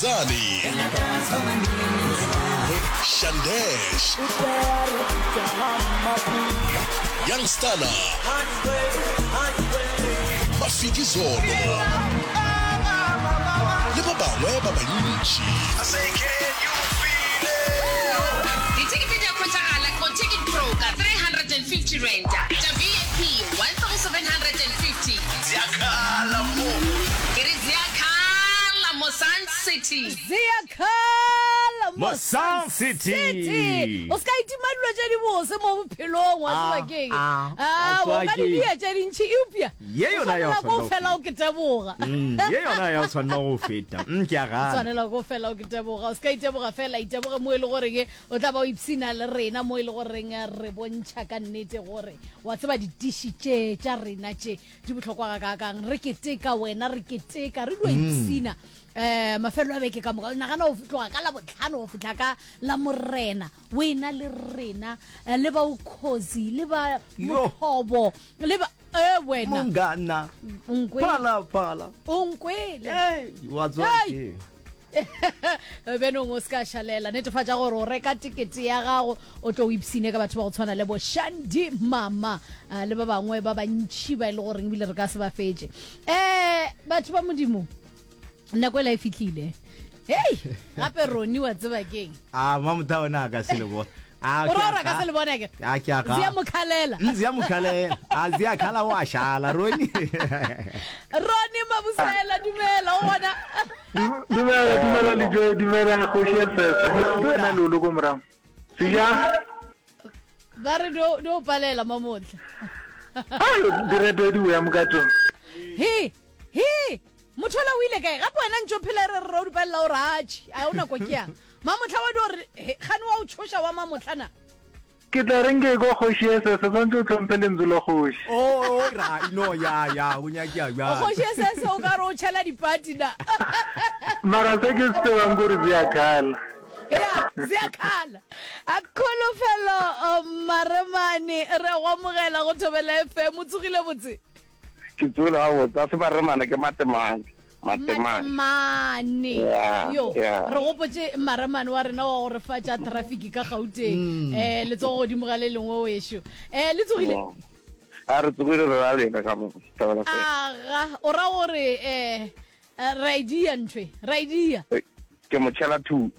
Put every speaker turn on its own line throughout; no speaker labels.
Khuzani, Shandesh, Young Stunna, Mafikizolo le ba bangwe ba bantši.
Dithekete di a hwetšagala go Ticket Pro ka R350, tša VIP R1750.
Ziakhala mo.
Ke re ziakhala mo Sun City.
Ziakhala
mo Sun City.
O se ka itima dilo tše dibose mo bophelong, wa tseba
Ah,
keng?
ah,
Ah,
wa
o ka
tseba
di
keng?
dia tše dintši eupša
Ye
o
yona ya
swanela
go
ko
tshwanela go
fela o ke teboga.
Mm, ye yona ya go tshwanela go feta. Mm, ke a gana.
Tshwanela ko fela o ke teboga. O se ka iteboga fela, iteboge mo e le goreng o tla ba o ipshina le rena mo e le goreng re bontšha ka nnete gore wa tseba ditiši tše tša rena tše di bohlokwa gakaakang. Re keteka wena, re keteka, re dio ipshina um mafelelo a beke ka moka. Nagana o tloga ka Labohlano go fihla ka Lamorena o ena le rena eh, le ba Ukhozi le ba
Yo.
Mothobo le ba e wena
Mongana.
o nkwele
Phala phala.
o nkwele
Hey, wa tswa
Hey.
ke.
Benong o se ka šalela, netefatša gore o reka tekete ya gago o tlo o ipshine ka batho ba go tshwana le bo Shandy Mama ah, le ba bangwe ba bantšhi ba e le goreng ebile re ka se ba fetše. Um batho ba Modimo, nako ela e fihlile. Hei, gape Roni wa tseba keng?
A mamotha ona a ka se le bona. A
O ra gore a ka se le bone akere?
A ke a ga.
Zia mokhalela.
Mm, Zia mokhalela. A zia khala wa shala Roni.
Roni Mabusela dumela o gona.
Dumela, dumela Lejoe, dumela kgoši ya Sese. Dumela Lolo ko morago. Seja.
Ba re do do palela mamotla.
Ayo, direto di boya mokatong.
He, he. Motho ola o ile kae? Gape wena ntše o phela re re o di palela o re atšhe. A o nako ke yang? Mamohla wa dio re he, kgane wa o tšhoša wa mamohla na?
Ke tla reng ke ekwa kgoši ya Sese, swantše o hlomphe lentšu la kgoši.
Oh, oh, ra, no, ya, ya, o nyakea bjalo.
Kgoši ya Sese o ka re o tšhela dipati na?
Mara se ke se tsebang kore ziyakhala.
Ya, ziyakhala. A kholofelo Maremane, re a go amogela go Thobela FM. O tsogile botse?
Ke tsogile gabotse, a se Maremane ke Matemane. Matemane.
Matemane.
Yeah,
Yo,
yeah.
re gopotše Maremane wa rena wa go re fa tša traffic ka Gauteng. Mm. Eh, letsogo godimo ga le lengwe wešo. Eh, le tsogile?
Mm. A re tsogile re ra lena ka mo. Thabela fela.
Aga, o ra gore eh eh, ra e dia ntho e, ra e dia.
Eh, Ke mo tšhela thu.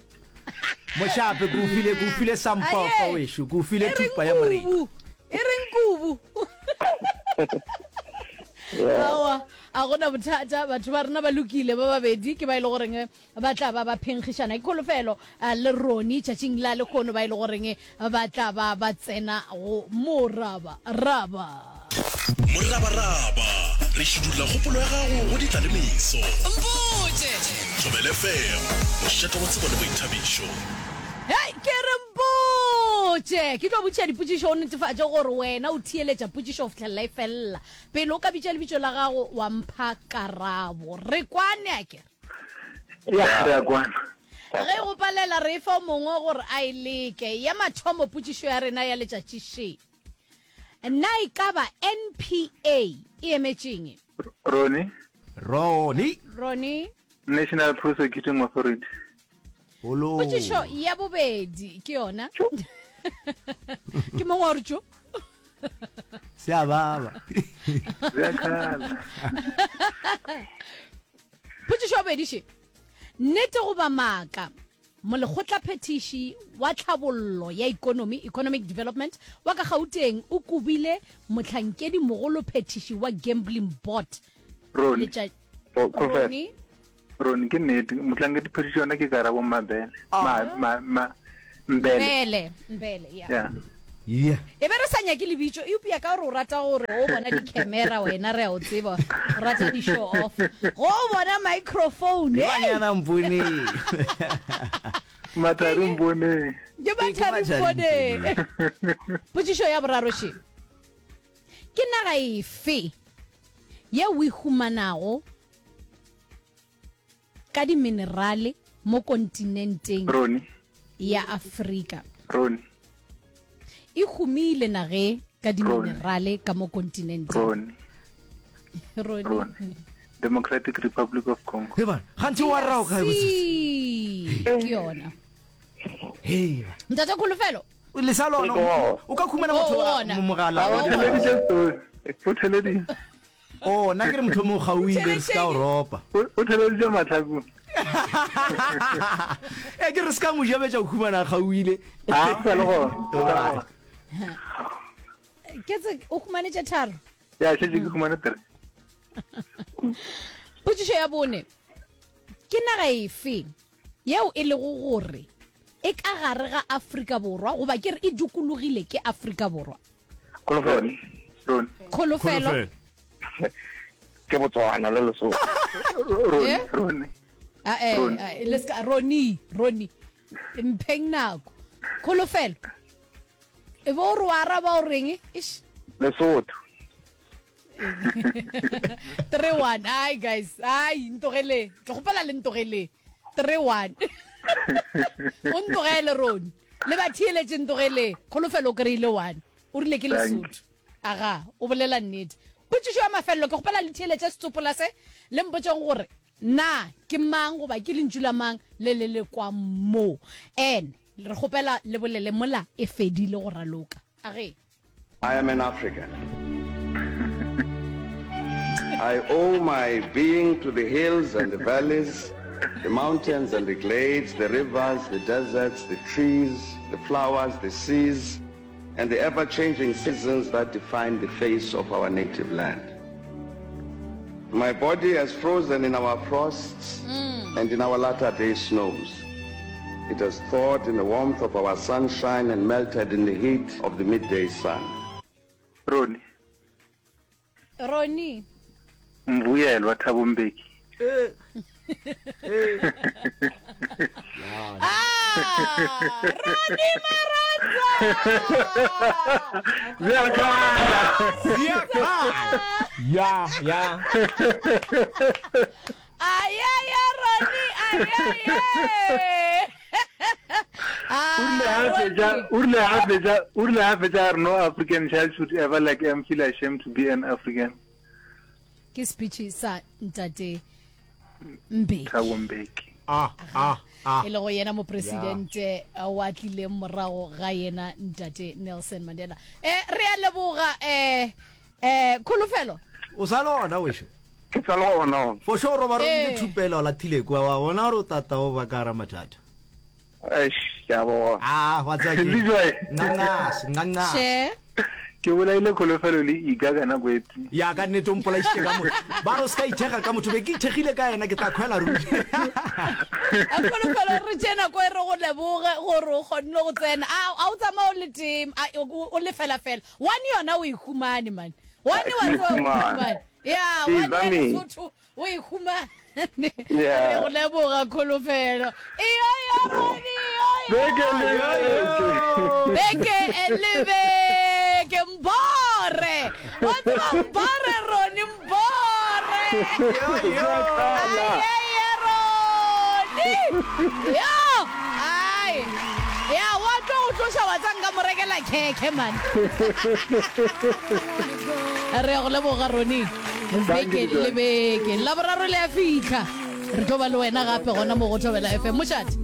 Mošape ke o file ke o file sampofa
Aye.
wešo ke o file
E reng
thupa ya morena.
kubu? E reng kubu?
Yeah.
Aowa, a gona bothata batho ba rena ba lokile ba babedi ke ba e le goreng ba tla ba ba phenkgišana ke kholofelo eh, le Roni tšatšing la lehono ba e le goreng ba tla ba ba tsena go moraba raba.
Morabaraba, re šidulla kgopolo ya gago go ditla le meso.
Mpotše!
Thobela FM, mošate wa tsebo le boithabišo.
Hei, ke re mpotše! Ke tlo botšiša dipotšišo o netefatše gore wena o theeletša potšišo go fihlelela e felela. Pele o ka bitša lebitso la gago wa mpha karabo. Re kwane akere?
Ya, re a kwana.
Ge go palela re e fa o mongwe gore a e leke. Ya mathomo potšišo ya rena ya letšatši še. Na e ka ba NPA e emetšeng?
Roni.
Roni.
Roni.
National Prosecuting Authority.
Holo.
Potšišo ya bobedi ke yona. Ke mongwe wa re tšo.
Se a baba.
Bjakala.
Potšišo ya bobedi še. Nnete goba maaka? Molekgotlaphethiši wa tlhabollo ya ikonomi, Economic Development, wa ka Gauteng o kobile mohlankedimogolophethiši wa Gambling Board.
Roni.
Letša-
Oh, Confess.
Roni.
Roni, ke nnete. Mohlankediphethiši yona ke Karabo Mabele. Ma, ma, ma, Mbele.
Mbele, Mbele, ya.
Yeah.
Yeah.
E be re sa nyake lebitso, eupša ka gore o rata gore o bona di-camera wena re a o tseba, o rata di-show off. Go o bona microphone, hey!
Banyana mponeng.
Mathari mponeng.
Ke Mathari mponeng. Potšišo ya boraro še. Ke naga efe yeo o e humanago ka diminerale mo kontinenteng
Roni.
ya Afrika.
Roni.
E humile nage ka diminerale ka mo kontinenteng.
Roni.
Roni.
Roni. Democratic Republic of Congo.
He bana, gantši wa rao kae botsotsi?
Ke yona.
Hei ba.
Ntate Kholofelo.
Le sa lona o ka khumana motho
wa
mogala.
O theleditše story. O theleditše.
Oh, nna ke re motho mo gauile re ska o ropa.
O theleditše matlhakong.
E ke re ska mo jabetša o khumana gauile.
Ah, sa le gona.
Ke tse o khumane tše tharo.
Ya, šetše ke khumane tere.
Potšišo ya bone. Ke naga efe yeo e lego gore e ka gare ga Afrika Borwa goba ke re e dukulogile ke Afrika Borwa?
Kholofelo.
Kholofelo.
Ke Botswana le Lesotho.
Roni, eh? Roni.
Ah, eh, eh, le ska Roni, Roni. Mpheng nako. Kholofelo. E bo re wa araba o reng? Ish.
Lesotho.
3-1. Ai guys, ai ntogele. Ke gopela le ntogele. 3-1. O ntogele Roni. Le ba theeletše ntogele. Kholofelo o kry-ile 1. O rile ke Lesotho. Aga, o bolela nnete. Potšišo ya mafelelo, ke kgopela le theeletše setsopola se, le mpotšeng gore na ke mang goba ke lentšu la mang le le le kwang mo. And re kgopela le bolele mola e fedile go raloka. Age.
I am an African. I owe my being to the hills and the valleys, the mountains and the glades, the rivers, the deserts, the trees, the flowers, the seas, and the ever-changing seasons that define the face of our native land. My body has frozen in our frosts mm. and in our latter-day snows. It has thawed in the warmth of our sunshine and melted in the heat of the midday sun.
Ronnie.
Ronnie.
Mbuyelwa Thabo Mbeki.
Eh. Eh.
Ah, Ronnie Maranza.
Ziyakhala.
Ziyakhala.
Ya, ya.
Ayaya Ronnie, ayaya. Ah,
O rile a fetša, o rile a fetša a re no African child should ever like em feel ashamed to be an African.
Ke speech sa ntate Mbeki.
Thabo Mbeki.
Ah, ah, ah.
E lego yena mopresidente wa tlileng morago ga yena ntate Nelson Mandela. Eh re a leboga eh eh Kholofelo.
O sa le gona wešo?
Ke sa le gona.
For sure roba
Eh.
romile thupela o lathile kwa wa bona gore o tata o ba ka gara mathata.
Eish, ke a bona.
Ah, wa tseba ke.
Lejoe.
Nqanqase, nqanqase.
She.
Ke bolaile Kholofelo le Iga ka nako e tee.
Ya ka nnete o mpolaišitše ka motho. Ba re o se ka ithekga ka motho, be ke ithekgile ka yena ke tla khwela ruri.
A Kholofelo re tšee nako e re go leboge gore o kgonne go tsena. A a o tsamaye o le tee, a o o le fela fela. One yona o e humane man. One wa tseba o e humane. Ya,
Ee,
one ya
Zami.
Lesotho o e humane.
Yeah.
Re go leboga Kholofelo. Iyo yo Roni, iyo yo.
Beke le beke.
Beke le beke mbore. Wa tseba mbore Roni mbore. Ayeye Roni. Yo, ai. Ya wa tlo go tloša wa tsa nka mo rekela khekhe man. Re ya go leboga Roni. Beke le beke. Laboraro le a fitlha. Re tlo ba le wena gape gona mo go Thobela FM. Mošate.